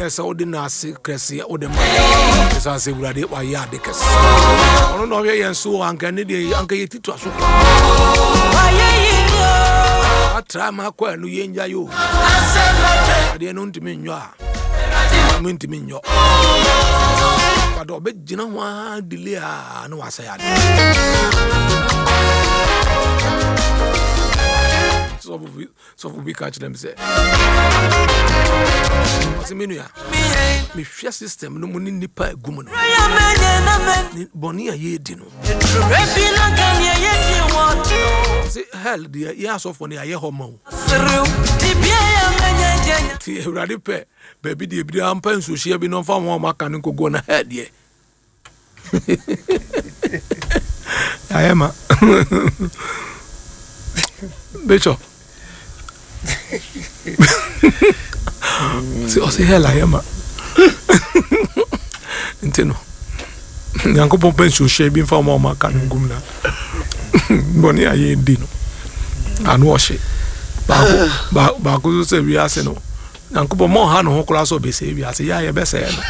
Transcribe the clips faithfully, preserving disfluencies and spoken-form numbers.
Na sɛ wode n'ase kɛseɛ wode ma ɛsiane sɛ Awurade wayɛ ade kɛse. Ɔno na ɔhwɛ yɛn so, anka ne deɛ anka yɛti toa so atra ma akɔ ɛno yɛngya yi o. Adeɛ no ntumi nyɔ a mentumi nyɔ, but ɔbɛgyina ho a delay a na wasɛe ade. Sɔfo bi sɔfo bi ka kyerɛ me sɛ, ɔsɛ me nua, mehwɛ system no mu ne nnipa agu mu no ne bɔne a yɛredi no, sɛ hell deɛ, yɛ asɔfoɔ no yɛayɛ hɔ ma wo. Nti Awurade pɛ baabi deɛ bi ampa nsuohyia bi na ɔmfa wɔn a ɔmaka no nkɔguɔ na hell deɛ yɛayɛ ma. Bishop sɛ ɔsɛ hell ayɛ ma, nti no Nyankopɔn pɛ nsuohyia bi mfa wɔn a ɔmaka no ngum na bɔne a yɛdi no ano ɔhye. Baako ba- baako nso sɛ wiase no, Nyankopɔn ma ɔha ne ho koraa sɛ ɔbɛsɛe wiase, yɛ a yɛbɛsɛe no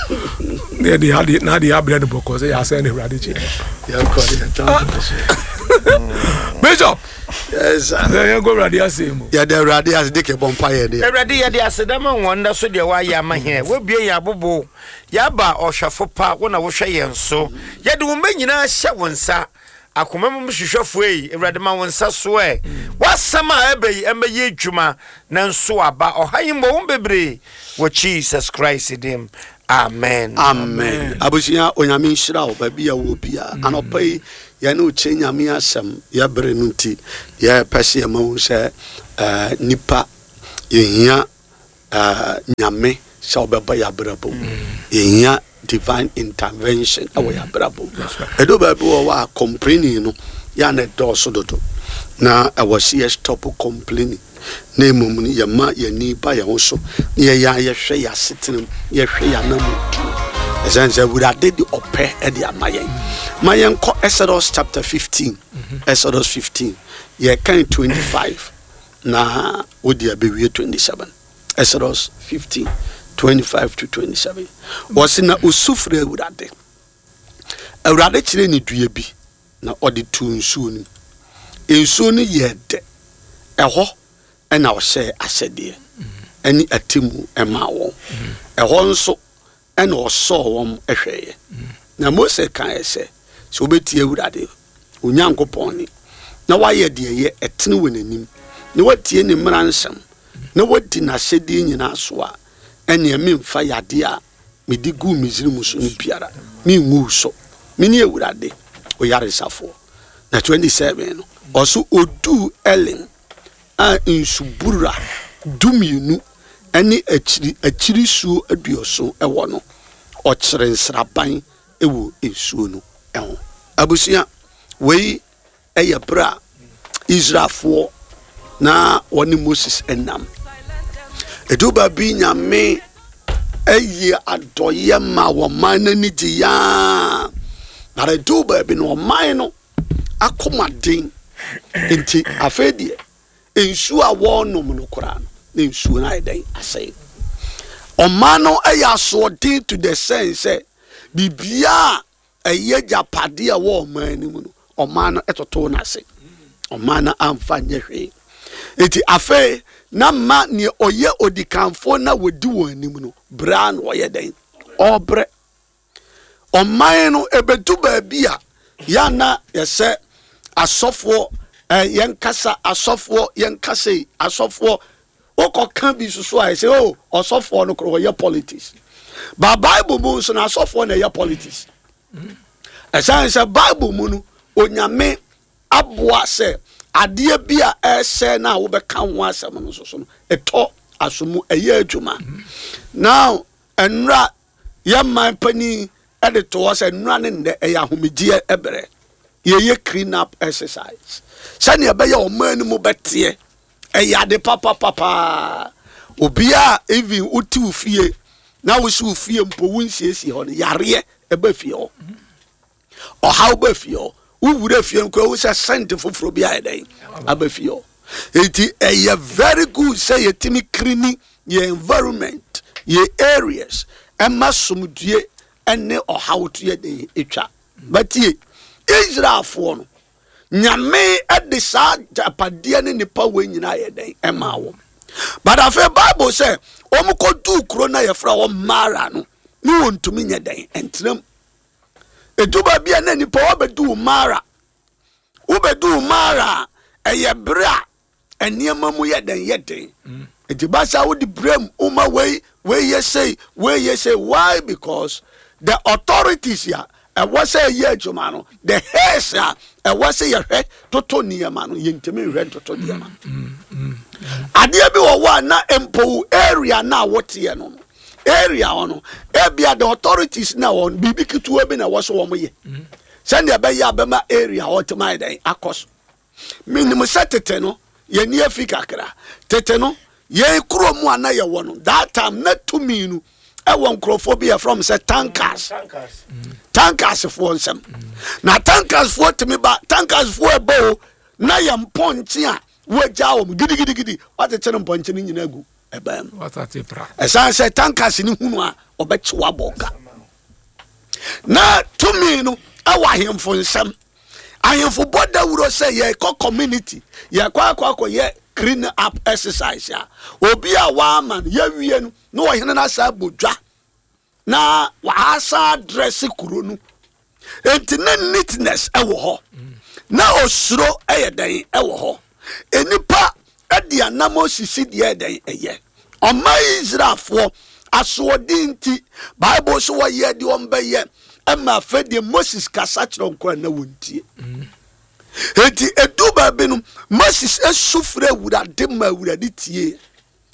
na yɛde ade na ade abrɛ no bɔkɔ sɛ yɛasɛe no. Awurade kyi. Yɛnkɔ ne yɛtamfo so. Bishop. Yes, sir. Sɛ yɛnkɔ Awurade asɛm mu. Yɛde Awurade ase de kɛbɔ mpa yɛ deɛ. Awurade, yɛde aseda ma wɔn da so deɛ woayɛ ama hɛn. Woabue yɛn abobo, yɛaba. Ɔhwɛfo pa, wo na wohwɛ yɛn so. Yɛde wo mma nyinaa hyɛ wo nsa. Akoma mu hwehwɛfoɔ yi, Awurade, ma wo nsa so ɛ. W'asɛm a ɛbɛ yi ɛmmɛyɛ adwuma na nso aba ɔha yi mmɔ wo bebree wɔ Jesus Christ dim, amen. Amen. Abusua, Onyame nhyira wo baabi a wɔ bia. Anɔpa yi yɛne wo kyerɛ Nyame asɛm. Yɛbere no nti, yɛpɛ sɛ yɛma wo sɛ eh, nipa yɛhia eh, Nyame sɛ ɔbɛba yɛ abrabɔ mu. Yɛhia divine intervention ɛwɔ yɛ abrabɔ mu. Ɛdo baabi wɔ hɔ a, complaining no yɛ na ɛdɔɔso dodo, na ɛwɔ sɛ yɛ stop complaining na mmom no yɛma yɛni ba yɛn ho so na yɛyɛ a yɛhwɛ yɛ asetena mu, yɛhwɛ yɛ anamotuo, ɛsiane sɛ Awurade de ɔpɛ ɛde ama yɛn. Ma yɛnkɔ Exodus chapter fifteen. Exodus fifteen, yɛkan twenty-five na wode abɛwie twenty-seven. Exodus fifteen twenty-five to twenty-seven. Wɔse na osu frɛ Awurade. Awurade kyerɛ ne dua bi na ɔde tuu nsuo no mu. Nsuo no yɛɛ dɛ. Ɛhɔ ɛna ɔhyɛɛ ahyɛdeɛ ɛne atemmu ɛmaa wɔn. Ɛhɔ nso ɛna ɔsɔɔ wɔn ɛhwɛeɛ. Na Mose kaeɛ sɛ, sɛ wobɛtie Awurade Onyankopɔn ne na woayɛ deɛ ɛyɛ ɛtene wɔ n'anim na woatie ne mmara nsɛm na woadi n'ahyɛdeɛ nyinaa so a, ɛneɛ memfa yadeɛ a mede guu Misraim so no biara mengu wo so. Mene Awurade oyaresafoɔ. Na twenty-seven no, ɔso oduu Elim a nsubura dumienu ne akyiri akyiri suo aduɔson ɛwɔ no, ɔkyerɛ nsraban ɛwɔ nsuo no ɛho. Abusua, wei ɛyɛ berɛ a Israelfoɔ na wɔne Moses ɛnam. Ɛdu baabi, Nyame ɛyɛ adɔyɛ ma wɔman no ani gye yaa, na ɛdu baabi no, ɔman no akomaden nti, afei deɛ nsuo a wɔrenom no koraa no, na nsuo no ayɛ dɛn? Asɛe. Ɔman no ɛyɛ asoɔden to the sense sɛ biribiaa a ɛyɛ agyapadeɛ a ɛwɔ ɔman no mu no, ɔman no ɛtoto n'ase. Ɔman no amfa nyɛ hwee. Eti afei na ma nea ɔyɛ odikanfoɔ na wɔdi wɔn anim no braa na ɔyɛ dɛn? Ɔbrɛ. Ɔman no ebedu baabi a yana yɛsɛ asɔfoɔ ɛ yɛnkasa, asɔfoɔ yɛnkasa yi, asɔfoɔ wokɔka bi soso a, yɛsɛ o ɔsɔfoɔ no korɔ wɔyɛ politics ba. Bible mu nso na asɔfoɔ na ɛyɛ politics, ɛsiane sɛ Bible mu no, Onyame aboa sɛ adeɛ bi a ɛsɛ na a wobɛka ho asɛm no nso so no, ɛtɔ aso mu, ɛyɛ adwuma. Now ɛnora yɛ man panin ɛde to hɔ sɛ nnora ne nnɛ ɛyɛ ahomegyeɛ ɛbrɛ, yɛyɛ clean up exercise sɛnea ɛbɛyɛ ɔman no mu bɛteɛ. Ɛyɛ ade papapapaa. Obiaa, even wote wo fie na wosi wo fie mpo, wo nsiesie hɔ no, yareɛ ɛbɛ fie hɔ, ɔhaw bɛ fie hɔ. Wowura fie no koraa, wo sɛ scent foforɔ bi ayɛ dɛn aba fie hɔ. Eti ɛyɛ very good sɛ yɛtumi clean yɛ environment, Yɛ areas ɛma somdue ɛne ɔhaw to yɛ den etwa. Batie, Israelfoɔ no, Nyame ɛde saa agyapadeɛ ne nipa wei nyinaa yɛ den ɛma wɔn. But afei Bible sɛ wɔn kɔduu kuro na yɛfrɛ wɔn Mara no, ne wɔntumi nyɛ den ɛntenam. Edu baabi a na nipa wɔbɛdu Mara, wobɛdu Mara a, ɛyɛ bere a nneɛma mu yɛ den yɛ den. Nti basa wode brem woma wei, wei yɛ sei, wei yɛ sei. Why? Because the authorities a ɛwɔ sɛ ɛyɛ adwuma no, the heads a ɛwɔ sɛ yɛhwɛ toto nneɛma no, yɛntumi nhwɛ ntoto nneɛma. Adeɛ bi wɔ hɔ a na mpo area na woteɛ no no area hɔ no, ebia the authorities na wɔn biribi ketewa bi na ɛwɔ so wɔn yɛ sɛnea ɛbɛyɛ a bɛma area hɔ tɛm ayɛ dɛn akɔ so. Menim sɛ tete no yɛni afi kakra. Tete no, yɛn kuro mu a na yɛwɔ no, that time na tumi no ɛwɔ nkurɔfoɔ bi yɛfrɛ m sɛ tankers, tankers foɔ nsɛm. Na tankers foɔ tumi ba, tankers foɔ ɛbɔ o, na yɛ mpɔnkye a wɔagya wɔn gidigidigidi, wɔakyekyere mpɔnkye no nyinaa gu ɛbɛn mu. Wasate pra. Ɛsan sɛ tankers ne hunu a, ɔbɛkye wabɔ ka. Na tumi no ɛwɔ ahemfo nsɛm. Ahemfo bɔ dawuro sɛ yɛkɔ community, yɛkɔ akɔ akɔyɛ clean up exercise a, obi a wama no yɛwie no na ɔhene no asa abɔ dwa na wasa adrɛse kuro no. Enti na neatness ɛwɔ hɔ, na osuro ɛyɛ dɛn ɛwɔ hɔ. Enipa ɛde anam osisi deɛ ɛdɛn ɛyɛ ɔma Israelfoɔ asoɔden. Nti Bible so wɔyɛ deɛ ɔmbɛyɛ ɛma afɛ deɛ Moses kasa kyerɛ nkora na wɔntie. Enti edu baabi no, Moses esu frɛ Awurade ma Awurade tie,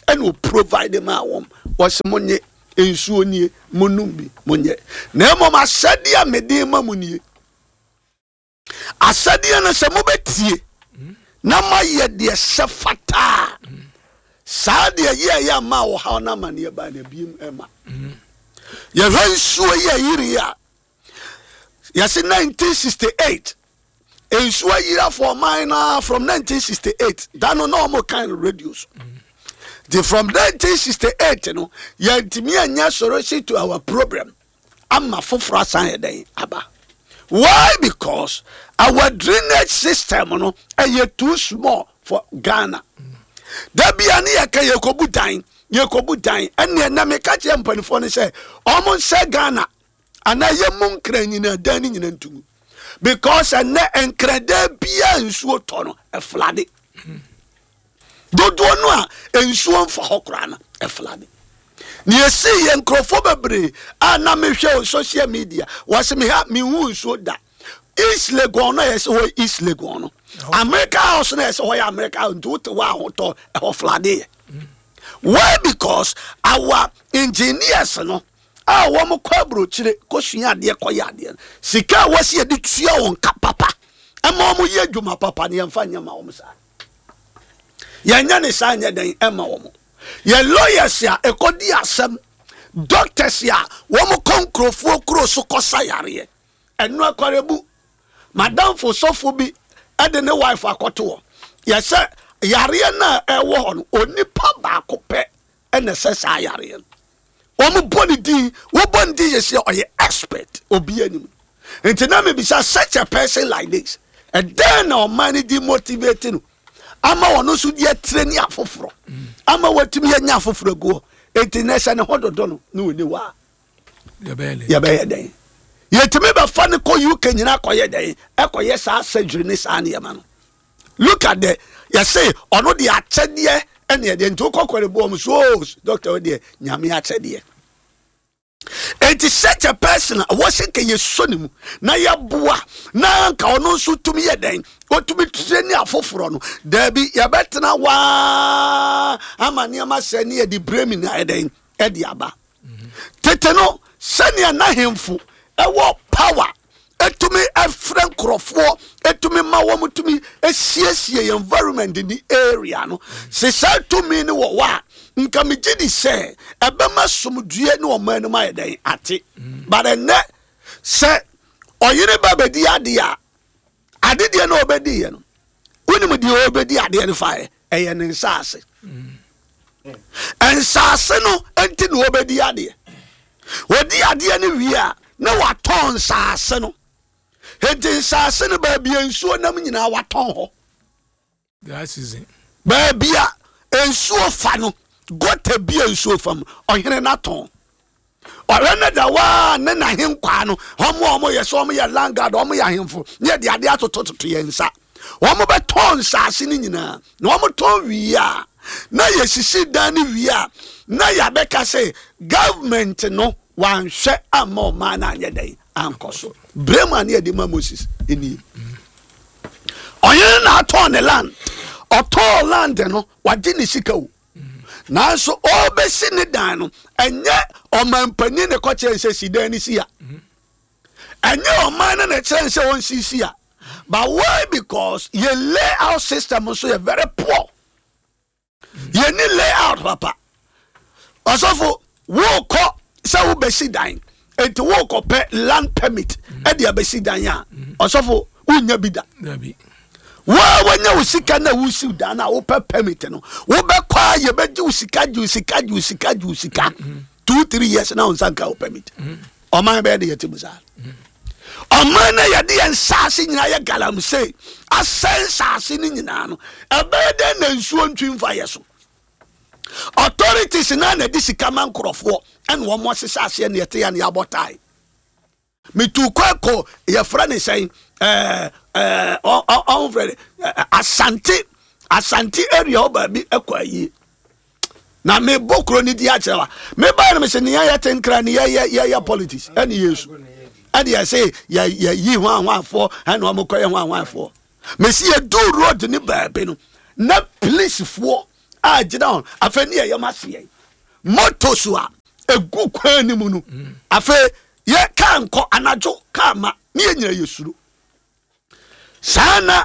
ɛna o provide ma wɔn. Wɔsi, "Mo nye nsuo nie, mo num bi, mo nyɛ na mmom asɛdeɛ a mede ma mo nie. Asɛdeɛ no sɛ mobɛtie na moayɛ deɛ sɛ fataa saa deɛ yɛɛyɛ ama a ɔhaw no amanneɛ baa na biem ɛma yɛhwɛ nsuo yi a yiri a yɛse nineteen sixty-eight nsuo ayirafoɔ ɔman no from nineteen sixty-eight da no na ɔmo kan radio so. Nti from nineteen sixty-eight no, yɛntumi anya solution to our problem ama foforɔ asan yɛ dɛn aba. Why? Because our drainage system no ɛyɛ too small for Ghana. Dabia ne yɛka yɛkɔbu dan, yɛkɔbu dan. Ɛneɛ na meka kyerɛ mpanimfoɔ no sɛ ɔmo nsɛ Ghana anaa yɛmu Nkran nyina dan no nyina ntomu, because ɛnɛ Nkradan biaa nsuo tɔ no, ɛflood. Dodoɔ no a nsuo mfa hɔ koraa no, ɛflood. Ne yɛsii yɛ nkurɔfoɔ bebree a na mehwɛ wɔ social media, wɔsɛ me ha mehu nsuo da. East Legon no, yɛsɛ hɔ East Legon no, America House no, yɛsɛ hɔ yɛ America House, nti wote hɔ ahotɔ ɛhɔ flood yɛ. Why? Because our engineers no a wɔn kɔ aburokyire kɔsua adeɛ, kɔyɛ adeɛ no, sika a wɔsi yɛde tua wɔn ka papa ɛma wɔn yɛ adwuma papa no, yɛmfa nyɛ ma wɔn saa. Yɛnyɛ ne saa nyɛ dɛn ɛma wɔn. Yɛ lawyers a ɛkɔdi asɛm, doctors a wɔn kɔ nkurɔfoɔ kuro so kɔsa yareɛ, ɛno akwarebu madamfo sɔfo bi ɛde ne wife akɔto hɔ, yɛsɛ yareɛ no a ɛwɔ hɔ no, onipa baako pɛ ɛna ɛsɛ saa yareɛ no. Wɔn bɔ ne din, wɔbɔ ne din yɛ sɛ ɔyɛ expert, obi anim. Nti na mebisa, such a person like this, ɛdɛn na ɔman no di motivate no ama wɔn nso de atire ne afoforɔ ama wɔatumi anya afoforɔ agu hɔ? Enti na ɛsɛ ne ho dodo no ne wɔni hɔ a yɛbɛyɛ dɛn? Yɛtumi bɛfa no kɔ U K nyinaa kɔyɛ dɛn, ɛkɔyɛ saa surgery ne saa nneɛma no. Look at the yɛse ɔno de akyɛdeɛ ɛne ɛdeɛ. Nti wokɔ kɔre mu so, "Oh, doctor wo deɛ, Nyame akyɛdeɛ." Enti such a person a wɔsɛ nka yɛsɔ ne mu na yɛboa na nka ɔno nso tumi yɛ dɛn, ɔtumi tire ne afoforɔ no, daabi, yɛbɛtena waa ama nneɛma sɛ ne yɛde bremi na ayɛ dɛn ɛde aba. Tete no, sɛnea n'ahemfo ɛwɔ power, ɛtumi ɛfrɛ nkurɔfoɔ, ɛtumi ma wɔn tumi esiesie yɛn environment ni area no, sɛ saa tumi no wɔ hɔ a, nka megye di sɛ ɛbɛma somdue ne ɔman no mu ayɛ dɛn ate. But ɛnɛ sɛ ɔyere ba bɛdi adeɛ a, adedeɛ no ɔbɛdi yɛ no, wonim deɛ ɔbɛdi adeɛ no fa yɛ, ɛyɛ ne nsa ase. Nsaase no nti na wɔbɛdi adeɛ. Wɔdi adeɛ no wie a, na watɔn nsaase no. Enti nsaase no, baabi a nsuo nam nyinaa, watɔn hɔ. Dry season. Baabi a nsuo fa no, gutter bi a nsuo fa mu, ɔhene no atɔn. Ɔhwɛ no da waa ne n'ahenkwaa no, wɔn a wɔyɛ sɛ wɔn yɛ landguard, wɔn yɛ ahemfo ne yɛde adeɛ atotototo yɛn nsa. Wɔn bɛtɔn nsaase no nyinaa na wɔn tɔn wie a, na yɛsisi dan no wie a, na yɛabɛka sɛ government no wanhwɛ ama ɔman no anyɛ dɛn ankɔ so. Brema ne yɛde ma Moses nie. Ɔhene na atɔn ne land. Ɔtɔn land no, wagye ne sika o, nanso ɔbɛsi ne dan no, ɛnyɛ ɔmanpanin ne kɔkyerɛ sɛ si dan no si a, ɛnyɛ ɔman no na ɛkyerɛ sɛ ɔnsisi a. But why? Because yɛ layout system nso yɛ very poor. Yɛni layout papa. Ɔsɔfo, wokɔ sɛ wobɛsi dan, enti wokɔpɛ land permit ɛde abɛsi dan a, ɔsɔfo, wonya bi da. Dabi. Waa, wanya wo sika na wosiw dan na wopɛ permit no, wobɛkɔ a, yɛbɛgye wo sika, gye wo sika, gye wo sika, gye wo sika two three years na wo nsa nka wo permit. Ɔman bɛyɛ de yɛte mu saa. Ɔman na yɛde yɛn nsaase nyinaa yɛ galamsey, asɛ nsaase no nyinaa no, ɛbɛyɛ dɛn na nsuo ntwi mfa yɛ so? Authorities na na de sika ma nkurɔfoɔ ɛna wɔn asesa aseɛ na yɛte yɛ na yɛabɔ tae. Metu kɔ kɔ, yɛfrɛ ne sɛn, ɛɛ ɛɛ ɔnfrɛ ne Asante, Asante area hɔ baabi ɛkɔ ayie na mebɔ kuro no di akyerɛ wa. Mebaa no, mesɛ nea yɛte Nkra ne yɛyɛ yɛyɛ politics ɛne Yesu ɛne yɛsɛ yɛyi ho ahoafoɔ ɛne ɔmo kɔyɛ ho ahoafoɔ. Mesi yɛdu road ne baabi no na polisifoɔ a gyina hɔ. Afei ne yɛyɛ ma seɛ moto so a egu kwan no mu no, afei yɛ kaa nkɔ anadwo, kaa ma ne yɛ nyina yɛ suro saa. Na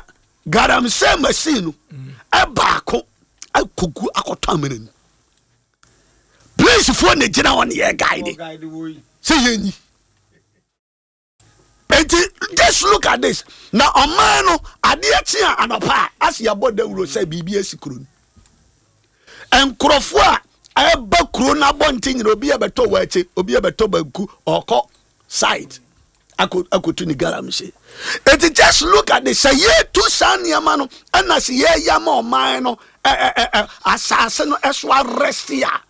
galamsey machine no ɛbaako akɔgu akɔtɔ amena mu. Polisifoɔ na gyina hɔ ne yɛ guide sɛ yɛnyi. Enti just look at this. Na ɔman no, adeɛ kye a, anɔpa a ase yɛabɔ dawuro sɛ biribi asi kuro no. Nkurɔfoɔ a ɛba kuro no abɔnten nyina, obi ɛbɛtɔ wɔakyi, obi ɛbɛtɔ banku, ɔkɔ site akɔtu ne galamsey. Eti just look at this. Sɛ yɛtu saa nneɛma no ɛna sɛ yɛyɛ ama ɔman no ɛ ɛ ɛ asase no ɛso arɛste a,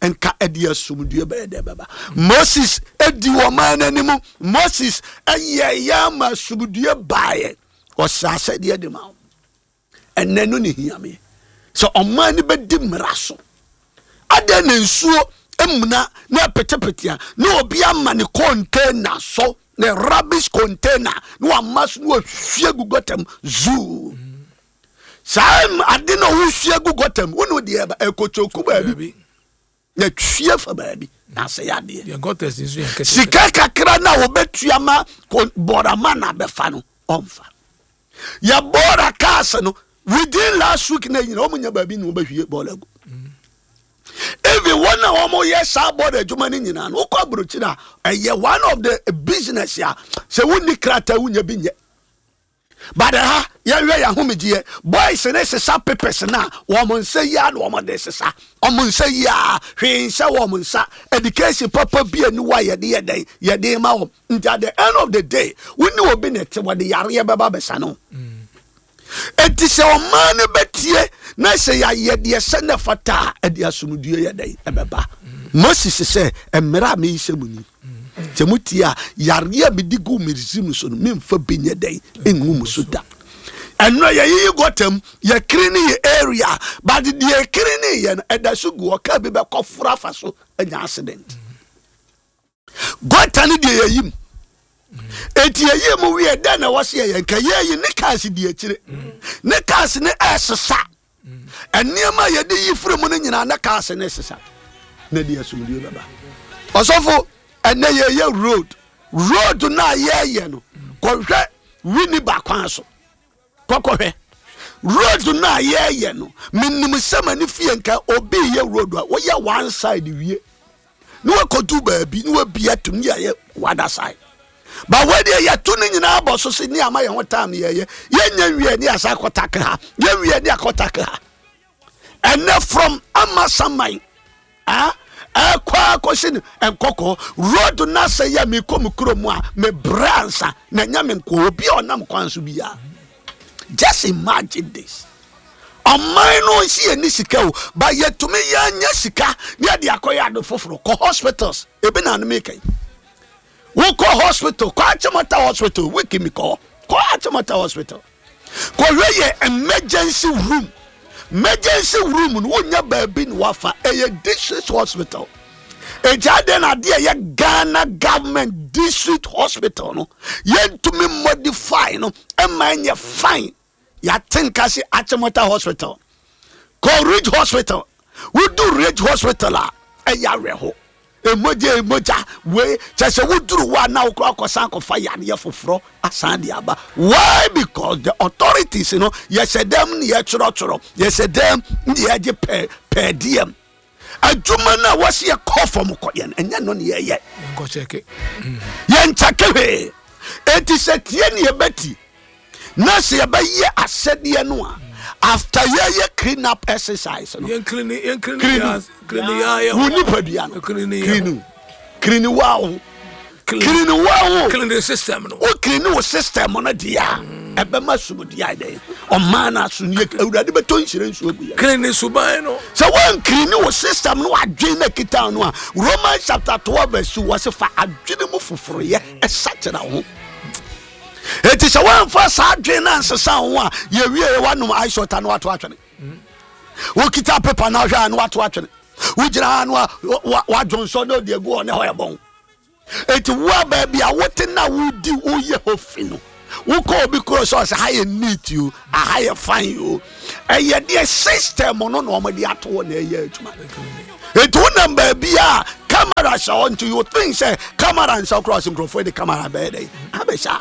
nka ɛde asomdue bɛyɛ dɛ bɛba. Moses edi ɔman n'anim. Moses ɛyɛ yɛ ama asomdue baayɛ. Ɔsɛ asɛdeɛ de ma wo. Ɛnɛ no ne hia me sɛ ɔman no bɛdi mmara so. Adɛn na nsuo muna na ɛpetepete a, na obi ama ne container so, ne rubbish container, na wama so na wahwie gu gutter mu zoo? Saa ade na wohwie gu gutter mu wone deɛ ɛba ɛkɔtɔku baabi na twie fa baabi na asɛ yɛ adeɛ. Sika kakra na wɔbɛtua ma bɔrama na bɛfa no, ɔmfa yɛ bɔɔla cars no. Within last week na nyina wɔn nya baabi na wɔbɛhwie bɔɔla gu. Even wɔn a wɔn yɛ saa bɔɔla adwuma no nyinaa no, wokɔ aburokyire a, ɛyɛ one of the business a sɛ wonni krataa, wonya bi nyɛ. But ha yɛhwɛ yɛn ahomegyeɛ, boys ne sesa papers na wɔn nsa yi a na wɔn de sesa wɔn nsa yi a, hwee nhyɛ wɔn nsa. Education papa bi ani wa yɛde yɛ dɛn yɛde ma wɔn. Nti at the end of the day, wonni obi na ɛte wɔde yareɛ bɛba bɛsa no. Eti sɛ ɔman no bɛtie na sɛ yɛayɛ deɛ sɛ ne fata a, ɛde asomdue yɛ dɛn ɛbɛba. Moses sɛ mmerɛ a meyi sɛ mu ni, sɛ motie a, yareɛ a mede gu Misraim so no, memfa bi nyɛ dɛn ɛngu mu so da. Ɛno yɛyiyi gutter mu, yɛkiri ne yɛ area, but deɛ yɛkiri ne yɛ no, ɛda so gu hɔ. Kaa bi bɛkɔ foro afa so anya accident. Gutter no deɛ, yɛyi mu. Eti yɛyi mu wie dɛn na ɛwɔ se yɛyɛ? Nka yɛyi ne cars di akyire ne cars ne ɛsesa nneɛma a yɛde yi firi mu no nyinaa ne cars ne sesa na de asomdue bɛba. Ɔsɔfo, ɛnɛ yɛyɛ road road no a yɛyɛ no, kɔhwɛ Winneba kwan so, kɔkɔhwɛ road no a yɛyɛ no. Menim sɛ m'ani fie nka obi yɛ road a, woyɛ one side wie na wakɔdu baabi na wabi atum ne yɛyɛ other side, but wɔdeɛ yɛto no nyinaa bɔ so se ne ama yɛn ho time. Yɛyɛ yɛnya nwie ne yɛsa akɔtake ha, yɛnwie ne akɔtake ha. Ɛnɛ from Amasaman ah ɛkɔ akɔsi no Nkɔkɔ road na sɛ yɛ mekɔ me kuro mu a, mebrɛ ansa na ɛnyɛ me nko, obi a ɔnam kwan so biara. Just imagine this, ɔman no nsi yɛ ni sika o, ba yɛtumi yɛnyɛ sika ne yɛde akɔyɛ ade foforɔ. Kɔ hospitals, ebi na anum yi, wokɔ hospital, kɔ Achimota Hospital, wiki mi kɔ kɔ Achimota Hospital, kɔhwɛ yɛ emergency room. Emergency room no, wonya baabi na wafa. Ɛyɛ district hospital. Egya de na adeɛ yɛ Ghana government district hospital no, yɛntumi modify no ɛma ɛnyɛ fine. Yɛate nka se Achimota Hospital, kɔ Ridge Hospital. Wodu Ridge Hospital a, ɛyɛ awerɛho. Emogya emogya wei kyɛ sɛ woduru hɔ a, na wokɔ akɔsan akɔfa yareɛ foforɔ asan de aba. Why? Because the authorities no, yɛhyɛ dɛm ne yɛtwerɛtwerɛ, yɛhyɛ dɛm ne yɛgye pɛ per diem. Adwuma no a wɔsi yɛkɔ fam kɔyɛ no, ɛnyɛ no ne yɛyɛ. Nkɔkyɛke. Yɛnkyɛke hwee. Enti sɛ tie ne yɛbɛti na sɛ yɛbɛyɛ asɛdeɛ no a, after yɛyɛ clean up exercise no, yɛnclean, yɛnclean. Clean. Yɛ clean yɛ wo nipadua no. Clean yɛ. Clean, clean wa ho, clean wa ho. Clean the system no. Wo clean wo system no deɛ a, ɛbɛma somdua dɛn ɔman no aso ne Awurade bɛtɔ nhyira nsuo agu yɛ. Clean suban no. Sɛ woanclean wo system no, adwene no kita no a, Romans chapter twelve verse two, wɔ se fa adwene mu foforoyɛ ɛsa kyerɛ wo ho. Enti sɛ woamfa saa adwene no ansesa wo ho a, yɛwie yɛ woanom ice water no, wato atwene. Wokita paper no ahwɛ a, no wato atwene. Wogyina ha no a, wadwonsɔ na ɔde agu hɔ ne hɔ yɛ bɔn. Enti wo a baabi a wote na wodi woyɛ hɔ fi no, wokɔ obi kuro sɛ ɔsɛ ha yɛ neat o, aha yɛ fine o, ɛyɛ deɛ system no na ɔmɔde ato hɔ na ɛyɛ adwuma. Enti wonam baabi a camera hyɛ hɔ, nti you think sɛ camera nhyɛ koraa, sɛ nkurɔfoɔ de camera bɛyɛ dɛ abɛhyɛ a.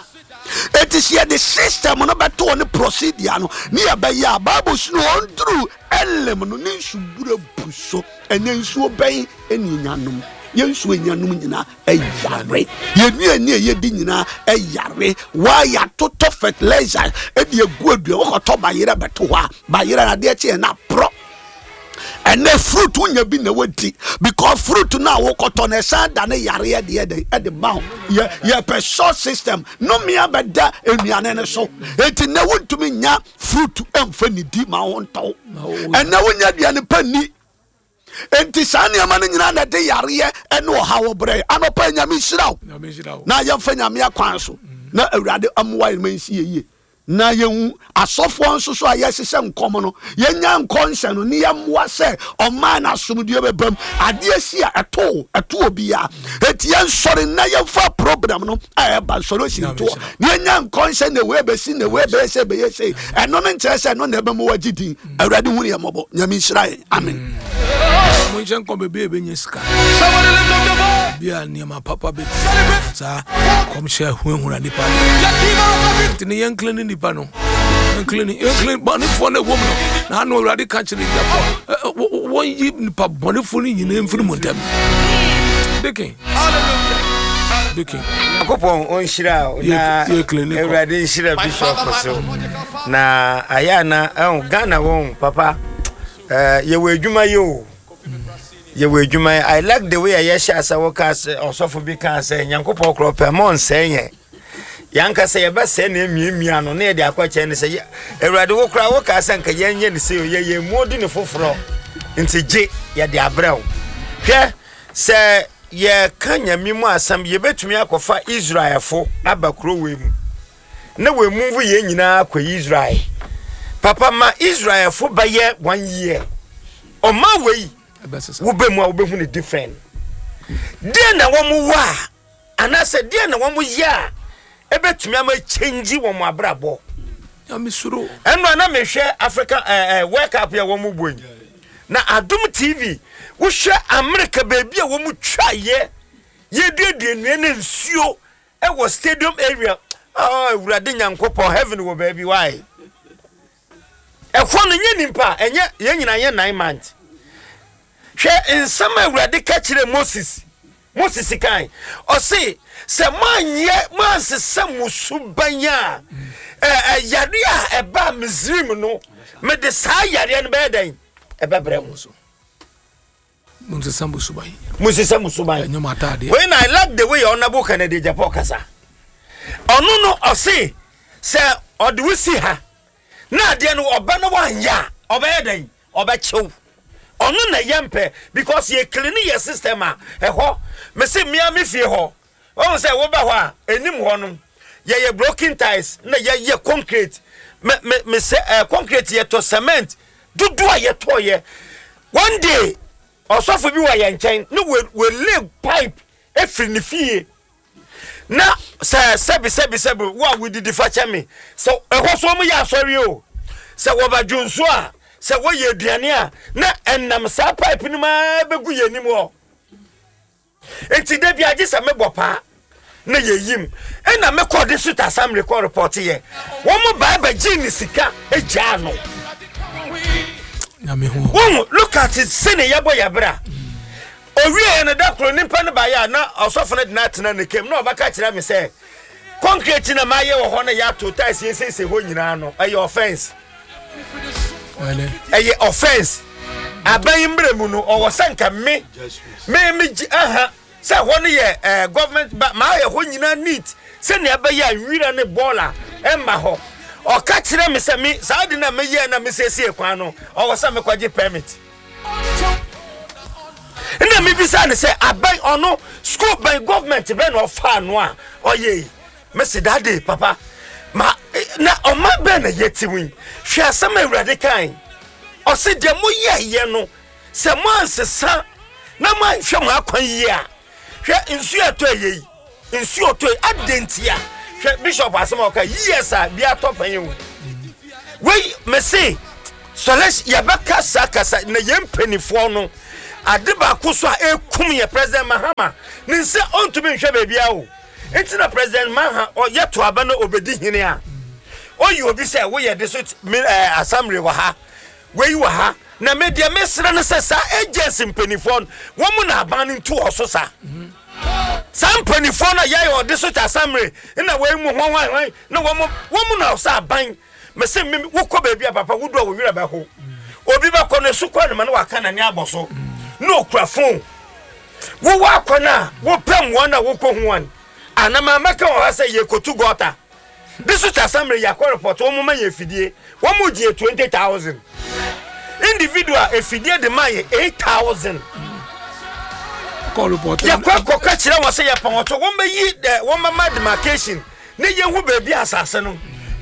Enti sɛ yɛde system no bɛto hɔ ne procedure no ne yɛbɛyɛ a, Bible so no, ɔnduru Elim no ne nsubura bu so. Ɛnɛ nsuo bɛn ɛne ɛnyanom? Yɛn nsuo ɛnyanom nyinaa ɛyare. Yɛn nnuane a yɛdi nyinaa ɛyare. Waa yɛatotɔ fertilizer ɛde agu adua. Wɔkɔtɔ bayerɛ bɛto hɔ a, bayerɛ no adeɛ kye yɛn na porɔ. Ɛnɛ fruit wonya bi na wadi, because fruit no a wokɔtɔ no, ɛsan da ne yareɛ deɛ dɛn ɛde ma wo. Yɛ yɛpɛ short system nomea bɛda nnuane no so. Enti nɛ wontumi nya fruit ɛmfa nidi ma wo ntɔw. Ɛnɛ wonya aduane pa ni. Enti saa nneɛma no nyinaa na ɛde yareɛ ɛne ɔhaw brɛ. Anɔpa, Nyame nhyira wo. Nyame nhyira wo. Na yɛmfa Nyame akwan so na Awurade amoa yɛn ma nsi yɛ yie, na yɛhu asɔfoɔ nso so a yɛhyehyɛ nkɔm no, yɛnya nkɔnhyɛ no ne yɛmmoa sɛ ɔman no asomdue bɛbam. Adeɛ si a, ɛto ɛto obiara. Enti yɛnsɔre na yɛmfa problem no a ɛba nsɔre osi ntoɔ na yɛnya nkɔnhyɛ na wei bɛsi na wei bɛyɛ sɛ bɛyɛ sɛ. Ɛno no nkyerɛ sɛ ɛno na ɛbɛma wagye din. Awurade hu ne yɛ mmɔbɔ. Nyame nhyira yɛn. Amen. Monhyɛ nkɔ baabi a ɛbɛnya sika Somebody lift up your voice. bi a nneɛma papa bɛ Celebrate. saa kɔmhyɛ hunahuna nipa no. The King of every Nti ne yɛnclean nipa no, yɛnclean, yɛnclean bɔnefoɔ no ɛwɔ mu no. Na ano Awurade ka kyerɛ Israelfoɔ, wɔnyi nipa bɔnefoɔ no nyinaa mfiri mu ntɛm. Deacon. Hallelujah. Deacon. Nyankopɔn ɔnhyira wo na Yɛ- yɛ clean kɔ. Awurade nhyira bishop so na ayɛ ana ɛho Ghana wɔn papa, ɛɛ yɛwɔ adwuma yi o, yɛwɔ adwuma yi. I like the way a yɛhyɛ asa wɔka sɛ ɔsɔfo bi ka sɛ Nyankopɔn korɔ pɛ mɔ nsɛn yɛn, yɛankasa yɛbɛsɛe na emiamia no na yɛde akɔkyɛn no sɛ yɛ- Awurade, wo koraa woka sɛ nka yɛnyɛ ne sɛ yɛ yɛn mu odi ne foforɔ, nti gye yɛde abrɛ wo. Hwɛ sɛ yɛka Nyame mu asɛm, yɛbɛtumi akɔfa Israelfo aba kuro wei mu na wɔmove yɛn nyinaa akɔ Israel. Papa, ma Israelfo bɛyɛ one year ɔma wei ɛbɛsesa. Wobɛ mu a, wobɛhu ne different. Deɛ na wɔn wɔ a, anaasɛ deɛ na wɔn yɛ a ɛbɛtumi ama change wɔn abrabɔ. Nyame suro. Ɛno a na mehwɛ Africa ɛɛ ɛɛ World Cup yɛ wɔn bɔ yi na Adom T V, wohwɛ America baabi a wɔn twa yɛ yɛduadua nnua ne nsuo ɛwɔ stadium area. Oh, Awurade Nyankopɔn, heaven wɔ baabi wae. Ɛhɔ no nyɛ nipa, ɛnyɛ yɛn nyinaa yɛ nine months. Hwɛ nsɛm a Awurade ka kyerɛ Moses. Moses kan ɔse sɛ moanyɛ moansesa mo suban a, ɛ- ɛ, yare a ɛbaa Misrim no, mede saa yareɛ no bɛyɛ dɛn? Ɛbɛbrɛ mo. Monsesa mo suban. Monsesa mo suban. Ɛnyɛ mo ataadeɛ. When I like the way Honorable Kennedy Agyapong kasa, ɔno no ɔse sɛ ɔde wo si ha na adeɛ no ɔba no wanyɛ a, ɔbɛyɛ dɛn? Ɔbɛkyew. Ɔno na yɛ mpɛ because yɛ clean yɛ system a ɛhɔ. Mese mmea me fie hɔ, wɔn sɛ woba hɔ a, anim hɔ no yɛyɛ broken tiles na yɛyɛ concrete. Me me me sɛ ɛɛ concrete, yɛtɔ cement dodo a yɛtɔ yɛ. One day ɔsɔfo bi wɔ yɛn nkyɛn ne wɔ wɔ lay pipe efiri ne fie na sɛ sɛbi sɛbi sɛbi, wo a wodidi fa kyɛ me, sɛ ɛhɔ so ɔmo yɛ asɔre o, sɛ wɔbɛdwo nso a, sɛ wɔyɛ aduane a, na ɛnam saa pipe no maa bɛgu yɛn anim hɔ. Nti da bi agye sɛ mebɔ paa na yɛyim, ɛna mekɔ de so assembly kɔ report yɛ, wɔn mo baa bɛgye ne sika agyaa no. Nyame ho. Wɔn look at it, sɛne yɛbɔ yɛ bra. Owie yɛ no, da koro nipa no baayɛ a na ɔsɔfo no de no atena ne kam na ɔbɛka kyerɛ me sɛ concrete na maayɛ wɔ hɔ no, yɛato tiles, yɛsiesie hɔ nyinaa no, ɛyɛ offence. Ɛnɛ. Ɛyɛ offence. Aban yi mmerɛ mu no, ɔwɔ sɛ nka me me me gye aha sɛ hɔ no yɛ ɛɛ government ba, maa yɛ hɔ nyinaa neat sɛnea ɛbɛyɛ a nwira ne bɔɔla ɛmma hɔ. Ɔka kyerɛ me sɛ me saa de na meyɛ na mesiesie kwan no, ɔwɔ sɛ mekɔgye permit. Nna mebisa ne sɛ aban ɔno school bɛn, government bɛn na ɔfaa no a ɔyɛ yi? Mesi dade papa ma eh, na ɔma bɛn na yɛte mu yi? Hwɛ asɛm a Awurade kan, ɔse deɛ moyɛyɛ no, sɛ moansesa na moanhwɛ mo akwan yie a, hwɛ nsuo ɛtɔ ɛyɛ yi, nsuo ɔtɔ yi adɛn ntia? Hwɛ bishop asɛm a ɔka, years a bi atɔ pɛn o. Wei mese sɔlɛs yɛbɛka saa kasa na yɛn mpanimfoɔ no ade baako so a ekum yɛ. President Mahama ne nsa ɔntumi nhwɛ baabi a o, nti na President Maha ɔyɛ to aba na obedi hene a, ɔyi obi sɛ woyɛ de so me ɛɛ assembly wɔ ha, wei wɔ ha. Na me deɛ mesrɛ no sɛ saa agency mpanimfoɔ no, wɔn mu na aban no ntu wɔ so saa saa mpanimfoɔ no a yɛayɛ ɔde so ta assembly na wei mu hwan hwan hwan na wɔn wɔn mu na ɔsɛ aban. Mese me wokɔ baabi a, papa, wodu a wo werɛ bɛho. Obi bɛkɔ no esu kɔ ne ma na waka n'ani abɔ so na okura phone. Wowɔ akɔ no a wopɛ mmoa no a wokɔ ho wɔn anam a mɛka wɔ ha sɛ yɛkɔtu gutter district assembly, yɛakɔ report, wɔn mo ma yɛ afidie, wɔn mo gye twenty thousand individual, afidie de ma yɛ eight thousand. Kɔ report. Yɛkɔ akɔka kyerɛ wɔn sɛ yɛpɔn ɔtɔ, wɔn bɛyi ɛ wɔn bɛma demarcation ne yɛhu baabi asase no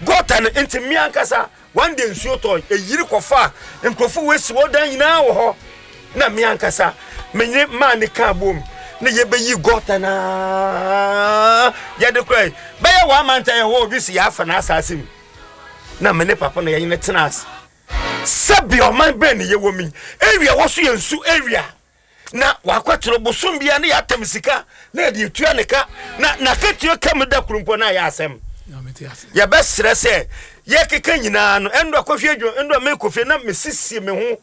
gutter no. Nti mmea ankasa, one day nsuo tɔ, eyiri kɔfa nkurɔfo wɔasi wɔn dan nyinaa wɔ hɔ, na mmea ankasa menye maa ne kaa bom ne yɛbɛyi gutter naa yɛde kora yi bɛyɛ wɔn amanta yɛ hɔ. Obi si yɛafa n'asase mu na me ne papa no yɛnyɛ tena ase sɛbi ɔman bɛn ne yɛwɔ mi area wɔ so yɛ nsu area na wakɔtoro bosom bia ne yɛatam sika na yɛde etua ne ka na n'akatua ka mu da koro mpo na ayɛ asɛm. Nyame te ase. Yɛbɛsrɛ sɛ yɛkeka nyinaa no, ɛndo akɔhwɛ adwuma, ɛndo a mekɔ fie na mesiesie me ho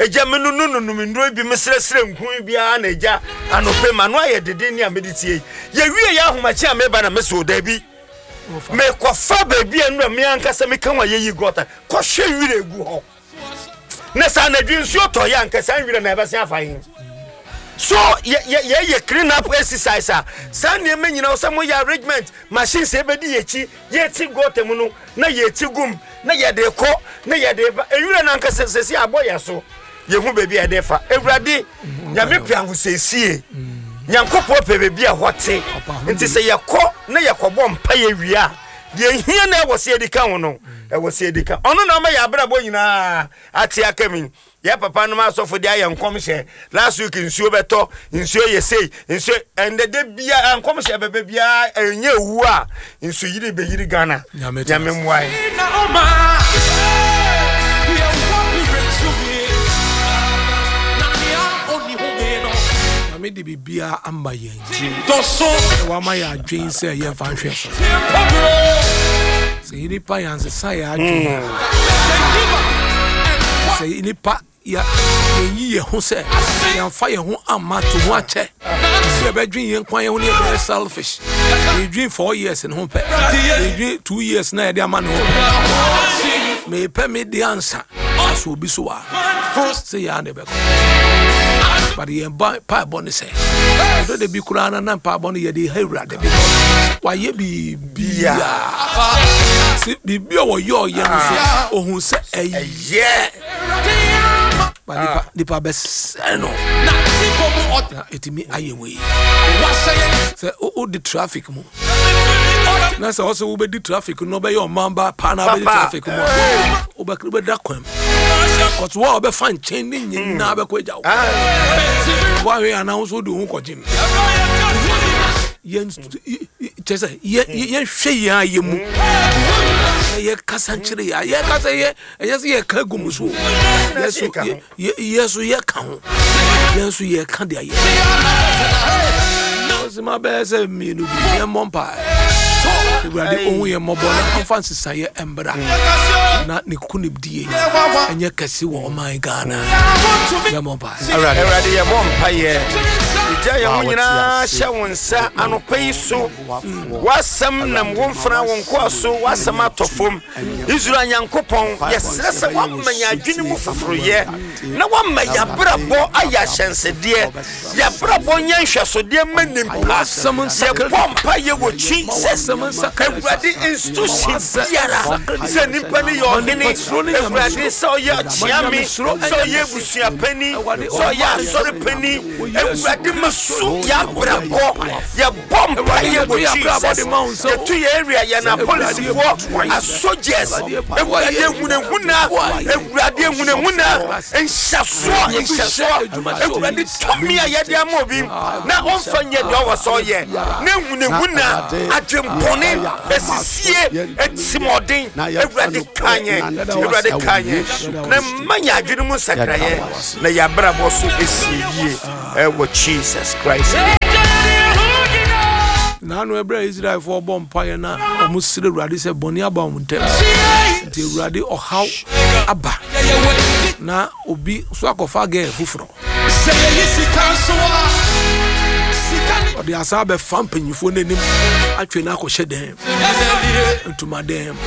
agya me no no nonom nnuro bi, mesrɛsrɛ nku biara na agya anɔpɛ ma no ayɛ dede ne a mede tie yi. Yɛwie yɛ ahomakye a meba na mesɛ o daabi, Wɔfa. Mekɔfa baabi a nnura me ankasa meka ho a yɛyi gutter kɔhwɛ nwira egu hɔ na sɛ anadwo nsuo tɔ yɛ anka saa nwira na ɛbɛsen afa yi so yɛ yɛ yɛyɛ clean up exercise a, saa nneɛma nyinaa sɛ moyɛ arrangement, machines ɛbɛdi yɛkyi, yɛti gutter mu no na yɛti gum na yɛde kɔ na yɛde ba. Nwira no ankasa sɛsi abɔ yɛ so, yɛhu baabi a yɛde fa. Awurade Nyame pɛ ahosiesie, Nyankopɔn pɛ baabi a hɔ te. Nti sɛ yɛkɔ na yɛkɔbɔ mpa yɛ wie a, deɛ hia na ɛwɔ sɛ yɛdi ka ho no, ɛwɔ sɛ yɛdi ka. Ɔno na ɔma yɛ abrabɔ nyinaa ate aka mi. Yɛ papa nom asɔfo de ayɛ nkɔmhyɛ last week, nsuo bɛtɔ, nsuo yɛ sei, nsuo ɛndɛ de bia nkɔmhyɛ bɛbɛ biara ɛnyɛ ewu a nsuo yiri bɛyiri Ghana. Nyame te Nyame ase. mmoa yɛn. Na ɔma yɛwɔ biretumi na nea ɔnni home no. Nyame de biribiara ama yɛn. Dɔso. Sɛ wama yɛ adwen sɛ yɛmfa nhwɛ so. Tiempɔbro. Sɛ yɛ nipa yɛansesa yɛ adwen a, sɛ nipa yɛ yɛyi yɛn ho sɛ yɛmfa yɛn ho amma to ho akyɛ sɛ yɛbɛdwen yɛn kwan yɛn ho ne yɛbɛyɛ selfish, yɛdwen four years ne ho pɛ, yɛdwen two years na yɛde ama ne ho pɛ, mepɛ me de ansa. Aso obi so a sɛ yɛa ne bɛkɔ, but yɛn ba paebɔ ne sɛ ɛdɔ de bi koraa na na mpaebɔ no yɛde ha Awurade bi wayɛ biribiaa sɛ biribi a wɔyɛ ɔyɛ no so ohun sɛ ɛyɛ, but nipa nipa bɛsɛ no na ɛtumi ayɛ wei sɛ wo- wode traffic mu na sɛ ɔsɛ wobɛdi traffic no, wobɛyɛ ɔman ba paa na wobɛdi Papa. traffic mu a, wobɛ- wobɛda kwan mu kɔso wo a wobɛfa nkyɛn ne nyinaa bɛkɔ agya wo. Woahwɛ anaa wo so wode wo ho kɔgye m yɛn kyɛ sɛ yɛ- yɛ- yɛnhwɛ yɛn ayɛ mu na yɛkasa nkyerɛ yɛ a yɛkasa yɛ ɛyɛ sɛ yɛka gu mu so o. Yɛ so yɛka ho. yɛ- yɛ- yɛ so yɛka ho, yɛn nso yɛka de ayɛ ɔsima bɛyɛ sɛ mmienu bi. Yɛmmɔ mpae, Awurade ɔhu yɛn mmɔbɔ na ɔmfa nsesaeɛ mbra na ne konimdie ɛnyɛ kɛse wɔ ɔman Ghana. Yɛmmɔ mpae. Awurade, yɛbɔ mpayɛ gya yɛn ho Wa, wɔte nyinaa ase. hyɛ wo nsa anɔpa yi so. W'asɛm nam wo mfra wo nkoa so, w'asɛm atɔ fam. Israel Nyankopɔn, yɛsrɛ sɛ woama yɛn adwene mu foforoyɛ na woama yɛabrabɔ ayɛ ahyɛnsedeɛ, yɛabrabɔ nyɛ nhwɛsodeɛ ma nimpa. W'asɛm nsakra. Yɛbɔ mpayɛ wɔ kyi sɛ W'asɛm nsakra. Awurade, institution biara sɛ nipa no yɛ ɔhene, Awurade, sɛ ɔyɛ kyeame, sɛ ɔyɛ abusuapani, sɛ ɔyɛ asɔrepani, Awurade, ma su yɛabrabɔ. Yɛbɔ mpayɛ wɔ Jesus, yɛto yɛ area, yɛn apolisifoɔ, asogyaes, Awurade, ehunahuna, Awurade, ehunahuna, nhyɛsoɔ, nhyɛsoɔ, Awurade, tɔmi a yɛde ama obi na ɔmfa nyɛ deɛ ɔwɔ sɛ ɔyɛ na ehunahuna, adwempɔne, esisie, etimɔden, Awurade, ka yɛn, Awurade, ka yɛn na mma yɛn adwene mu nsakraeɛ na yɛn abrabɔ so esie yie ɛwɔ Jesus Christ. Naano ɛberɛ a Israelfoɔ bɔ mpaeɛ na ɔmo srɛ Awurade sɛ bɔne aba ɔmo ntɛm nti Awurade ɔhaw aba na obi so akɔfa gɛɛ foforɔ, ɔde asa abɛfa mpanyinfoɔ no anim atwe no akɔhyɛ dɛm, ntomadan mu.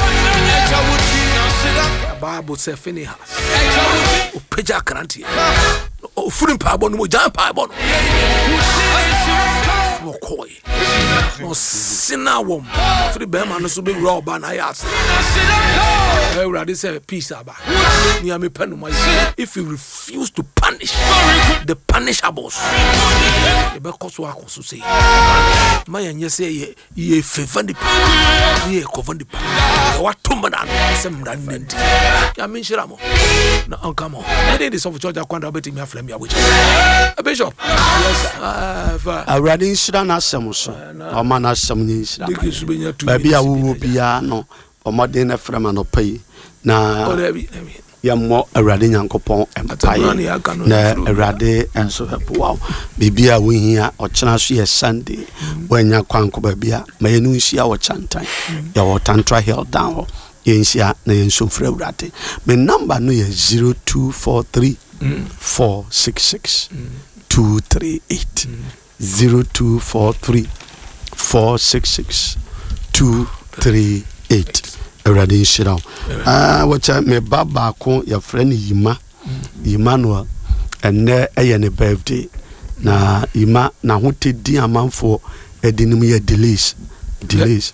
Bible sɛ Finehas ɔpagya akranteɛ, ɔfiri mpaebɔ no mu, ɔgya mpaebɔ no na ɔkɔɔɛ na ɔsena wɔm firi bɛrima no so bɛwura ɔba na ayɛ ase. Awurade sɛ peace aba, nea mepɛ no mayɛ. If you refuse to punish the punishables, yɛbɛkɔ so akɔ so sei. Ma yɛnyɛ sɛ yɛ yɛ favour nipa ne yɛ kɔfa nipa na wato mmara no sɛ mmara no nanti. Nyame nhyira mo na ɔnka mo. Ɛde de sɔfo church akwanda wobɛtumi afrɛ me abɔkyɛ Bishop. Yes, ah, fa. Awurade nhyira n'asɛm so na ɔma n'asɛm nyɛ nhyira ma Dike so bɛnya two baabi a minutes bi wowɔ na agya. biara no, ɔmmɔden no frɛ ma anɔpa yi na Oh, dabi, dabi. yɛmmɔ Awurade Nyankopɔn Atamuna ne mpaeɛ yɛaka no na mfiri obiara. Awurade nso bɛboa wo biribi a wohia. Ɔkyena so yɛ Sunday, woanya kwan kɔ baabi a ma yɛne wo nhyia wɔ Kyantan, yɛwɔ Tantra Hill down hɔ. Yɛnhyia na yɛnso mfiri Awurade. Me number no yɛ zero two four three four six six two three eight, zero two four three four six six two three eight. Awurade nhyira wo. Ah, wɔkyɛ me ba baako yɛfrɛ no Yima Emmanuel, ɛnnɛ ɛyɛ ne birthday. Na Yima n'ahotedi amanfoɔ ɛde nim yɛ delays delays,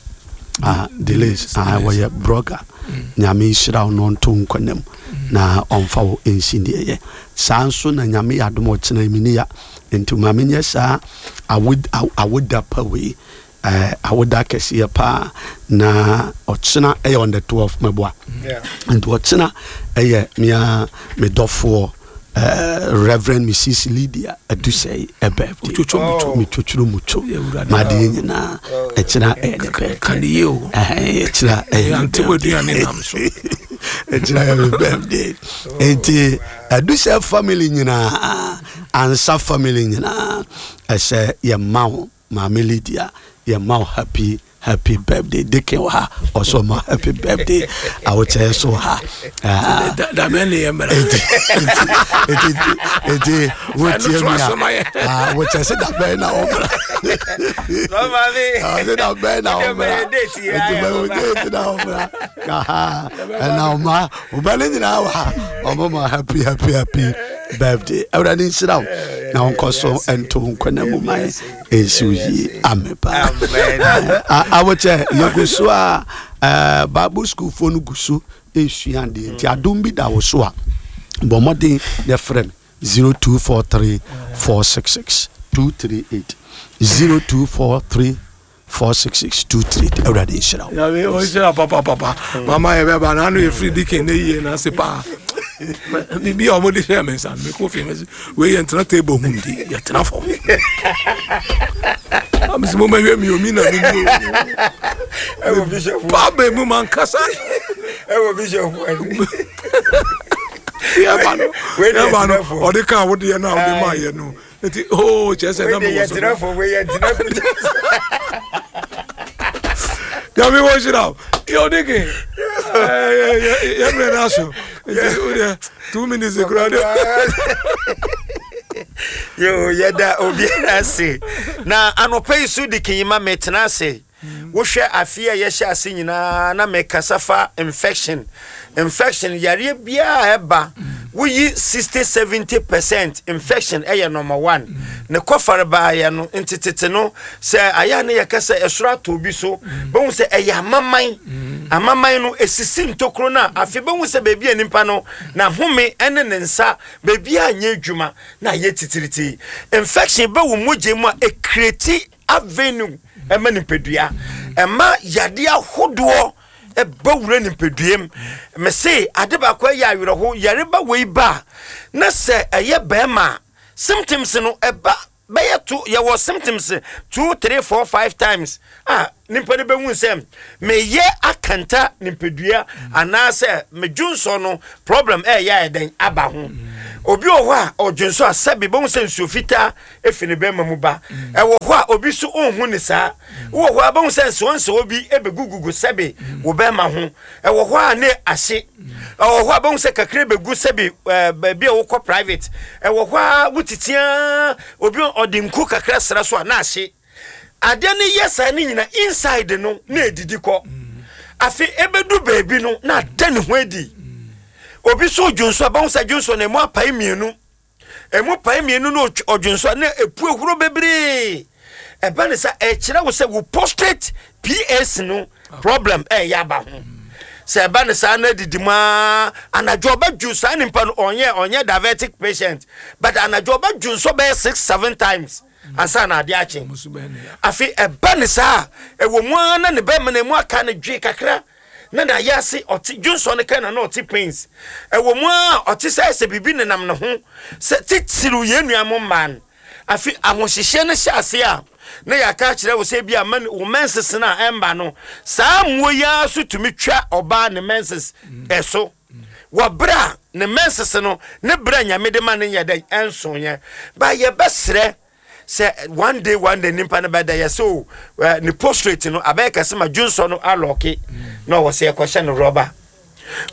ah, delays, ah, wɔyɛ blogger. Nyame nhyira wo na ɔnto nkɔnam na ɔmfa wo nsi deɛ yɛ saa nso na Nyame yɛ adom ɔkyena mini ya nti ma menyɛ saa awo- awo- awoda pa wei, eh, awoda kɛseɛ paa na ɔkyena ɛyɛ on the twelve mɛboa. Nti ɔkyena ɛyɛ mea me dɔfoɔ, eh, Reverend Missus Lydia Adusɛi ɛbirthday. Otwotwo mutwo. Metwotworo mutwo. Yɛ Awurade. Madeɛ nyinaa ɛkyena ɛyɛ ne birthday. Ka ne yie o. Ɛhɛn, ɛkyena ɛyɛ ne Yɛante birthday. w'aduane nam so. Ɛkyena yɛ me birthday nti Adusɛ family nyinaa, Ansa family nyinaa, ɛsɛ yɛma wo Maame Lydia, yɛma wo happy Happy birthday. Deacon wɔ ha, ɔsɔ ɔma happy birthday. Awokyɛ so wɔ ha. Ah, Dabɛn ne yɛ mmara. Eti eti eti wotie mi Ɛno to a, ah, wokyɛ sɛ dabɛn na ɔmmra. Mama. Ɔsɛ dabɛn na ɔmmra. Date yi, Eti ayɛ bɛ wo ɔba. date na ɔmmra. Aha, ɛna ɔma ɔba ne nyinaa wɔ ha. Ɔmo ma happy, happy, happy birthday. Awurade nhyira wo na ɔnkɔ so ɛnto nkwa mu ma yɛ ɛnsi wo yie. Amen paa. Amen. Awokyɛ yɛgu so a, ɛɛ, Bible school foɔ no gu so esua adeɛ, nti adom bi da wo so a, bɔ mmɔden na frɛ me zero two four three four six six two three eight, zero two four three four six six two three eight. Awurade nhyira wo. Nyame ɔnhyira papapapa. Mama, yɛbɛba na ano yɛfiri Deacon ne yie na ase paa. Biribi a ɔmode hyɛɛ me nsa no, mekɔ fie mɛsɛ wei yɛntena table ho ndi, yɛtena fam. Amesɛ momahwɛ mi omi na meni. Ɛwɔ bishop. Paa mu mankasa. Ɛwɔ bishop ani. Yɛba no Wei deɛ yɛba no yɛtena fam. ɔde ka wodeɛ no a wode maayɛ no, nti o kyerɛ sɛ na Wei deɛ mewɔ so. yɛtena fam, wei yɛtena fam. Nyame wɔ hyira wo. Yɛ ɔdeke yɛmmerɛ no aso, nti wodeɛ two minutes kora de. Yo, yɛda obiara ase na anɔpa yi so de kenyima metena ase. Wohwɛ afe a yɛhyɛ ase nyinaa na mekasa fa infection. Infection yareɛ biara ɛba, woyi sixty seventy percent, infection ɛyɛ number one. Ne kɔfare baayɛ no ntetete no sɛ ayɛ a ne yɛka sɛ ɛsoro atɔ obi so, bɛhu sɛ ɛyɛ amaman. Amaman no esisi ntokuro no a, afei bɛhu sɛ baabi a nipa no n'ahome ɛne ne nsa baabi a nyɛ adwuma na ayɛ titiriti. Infection bɛ wo mogya mu a, ɛ create avenue ɛma nipadua, ɛma yadeɛ ahodoɔ ɛbɛ wura nipadua mu. Mese ade baako ɛyɛ awerɛho, yareba wei ba a, na sɛ ɛyɛ bɛrima a, symptoms no ɛba bɛyɛ to. Yɛwɔ symptoms two, three, four, five times a nipa no bɛhu sɛ meyɛ akanta nipadua anaasɛ medwonsɔ no problem ɛyɛ ayɛ dɛn aba ho. Obi wɔ hɔ a ɔdwonsɔ a, sɛbi, bɛhu sɛ nsuo fitaa efi ne bɛrima mu ba. Ɛwɔ hɔ a obi so ɔnhu ne saa. Wɔ hɔ a bɛhu sɛ nsewɔnsewɔ bi ɛbɛgugugu sɛbi wɔ bɛrima ho. Ɛwɔ hɔ a ne ahye. Ɛwɔ hɔ a bɛhu sɛ kakra bɛgu sɛbi ɛɛ baabi a wokɔ private. Ɛwɔ hɔ a wotitia obi ɔde nku kakra sra so a na ahye. Adeɛ no yɛ saa ne nyina inside no na edidi kɔ. Afei ebedu baabi no na ada ne ho adi. Obi so dwonso a, bɛhu sɛ dwonso no emu apae mmienu, emu pae mmienu na ɔtw- ɔdwonso a na epu ehuro bebree. Ɛba ne sɛ ɛkyerɛ wo sɛ wo prostate P S no problem ɛyɛ aba ho. Sɛ ɛba ne saa na didi mu aa, anadwo ɔbɛdwo saa nipa no, ɔnyɛ ɔnyɛ diabetic patient, but anadwo ɔbɛdwo nso bɛyɛ six, seven times ansa na adeɛ akye. Ɔmo so bɛyɛ ne ya. Afei ɛba ne saa, ɛwɔ mu ara na ne bɛrima na emu aka ne dwe kakra na na ayɛ ase ɔte dwonsɔ no ka na na ɔte pains. Ɛwɔ mu ara ɔte sɛ sɛ biribi nenam ne ho sɛ titiriw yɛn nua mo mmaa no. Afei ahohyehyɛ no hyɛ ase a, na yɛaka akyerɛ wo sɛ bi a man- wo menses no a ɛmba no, saa mmoa yi ara so tumi twa ɔbaa ne menses ɛso wɔ berɛ a ne menses no ne berɛ a Nyame de ma no nyɛ dɛn ɛnsoeɛ ba. Yɛbɛserɛ sɛ one day, one day nipa no bɛda yɛ sɛ o ɛ, ne prostate no abɛyɛ kɛse ma dwonsɔ no a lock na ɔwɔ sɛ yɛkɔhyɛ no rɔba.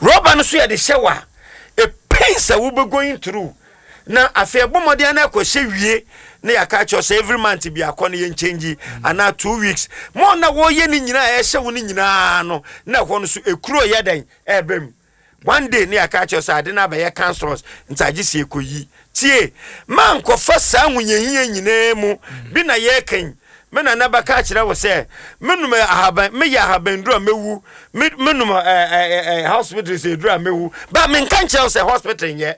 Rɔba no so yɛde hyɛ wɔ a, pain sɛ wobɛ going through na afei ɛbɔ mmɔden na ɛkɔhyɛ wie na yɛaka kyerɛ sɛ every month bi akɔ no yɛnkyɛngyi anaa two weeks. Mo na wɔyɛ ne nyinaa a ɛhyɛ wo no nyinaa no na ɛhɔ no so ekuro yɛ dɛn ɛɛbɛ mu. One day ne yɛaka kyerɛ sɛ ade no abɛyɛ cancerous, nti agye sɛ yɛkɔyi. Tie, ma nkɔfa saa ahohiahia nyinaa mu bi na yɛreka me nana bɛka kyerɛ wo sɛ menum ahaban, meyɛ ahabanduru a mɛwu, me- menum ɛ, ɛ, ɛ, hospital sɛ eduru a mɛwu ba. Menka nkyerɛ wo sɛ hospital nyɛ,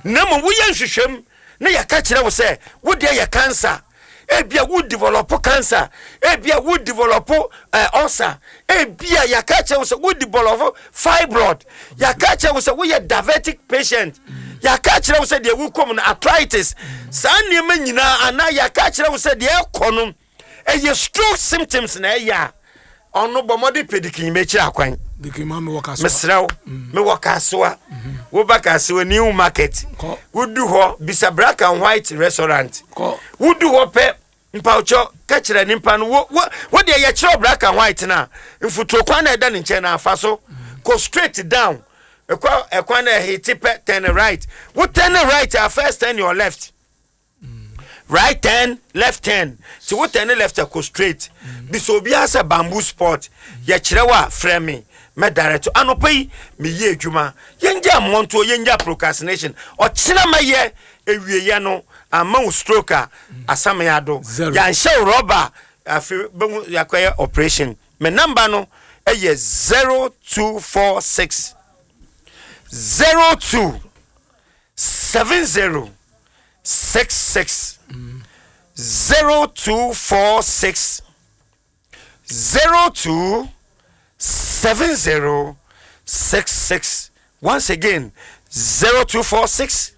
na mmom woyɛ nhwehwɛm na yɛka kyerɛ wo sɛ wodeɛ yɛ cancer, ebia wo develop cancer, ebia wo develop uh, ulcer, ebia yɛka kyerɛ wo sɛ wo develop fibroid, yɛka kyerɛ wo sɛ woyɛ diabetic patient, yɛka kyerɛ wo sɛ deɛ wokɔm no arthritis, saa nneɛma nyinaa, anaa yɛka kyerɛ wo sɛ deɛ ɛkɔ no ɛyɛ stroke symptoms na ɛyɛ a, ɔno bɔ mmɔde pɛ Deacon bɛkyerɛ akwan. Deacon ma mewɔ Kasoa. Mesrɛ wo, mewɔ Kasoa. Woba Kasoa New Market, Kɔ. wodu hɔ bisa Black and White Restaurant. Kɔ. Wodu hɔ pɛ Mpawkyɛ, ka kyerɛ nipa no wo wo wo deɛ, yɛkyerɛ black and white na mfuturo kwan na ɛda ne nkyɛn na afa so kɔ straight down. Ɛkɔ ɛkwan na ɛhete pɛ, turn right. Wo turn right a, first turn your left, right turn, left turn. Ti wo turn left, kɔ straight. Bisɛ obiara sɛ Bamboo Sport, yɛkyerɛ wo a, frɛ me, mɛ direct. Anɔpa yi meyɛ adwuma. Yɛngya mmɔntoɔ, yɛngya procrastination. Ɔkyena mɛyɛ ewieɛ no ama wo stroke a, asame ado. Zero. Yɛanhyɛ wo rɔba afi bɛhu yɛakɔyɛ operation. Me number no ɛyɛ zero two four six zero two seven zero six six, zero two four six zero two seven zero six six. Once again, zero two four six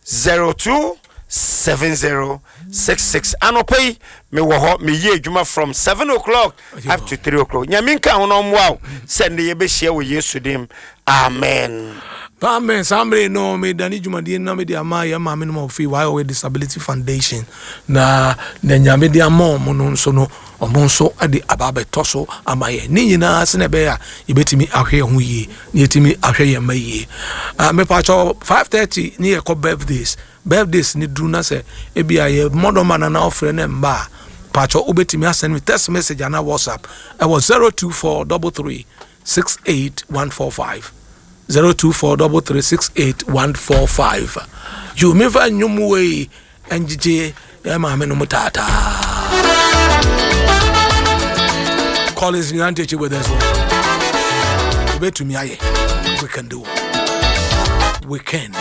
zero two seven zero six six. Anɔpa yi mewɔ hɔ, meyɛ adwuma from seven o'clock up to three o'clock. Nyame nka ho no ɔmmoa wo sɛ nnɛ yɛbɛhyia wɔ Yesu dim. Amen. Amen. Saa mmere no, medane dwumadie no na mede ama yɛn maame no ma ɔfiri Y O A Disability Foundation na na Nyame de ama ɔmo no nso no, ɔmo nso de aba abɛtɔ so ama yɛn ne nyinaa sɛ na ɛbɛyɛ a yɛbɛtumi ahwɛ yɛn ho yie na yɛtumi ahwɛ yɛn mma yie. Ah, mepatwɛ, five thirty ne yɛkɔ birthdays. Birthdays ne duru na sɛ ebi a yɛ mmɔdɔma na na ɔfrɛ ne mba a, patwɛ, wobɛtumi asend me text message anaa WhatsApp ɛwɔ zero two four three three six eight one four five, zero two four three three six eight one four five. Yo, memfa nnwom wei ɛngyegye yɛ maame no mu taataa. Collins Nyantakyi with us one. Yɛbɛtumi ayɛ. We can do, we can.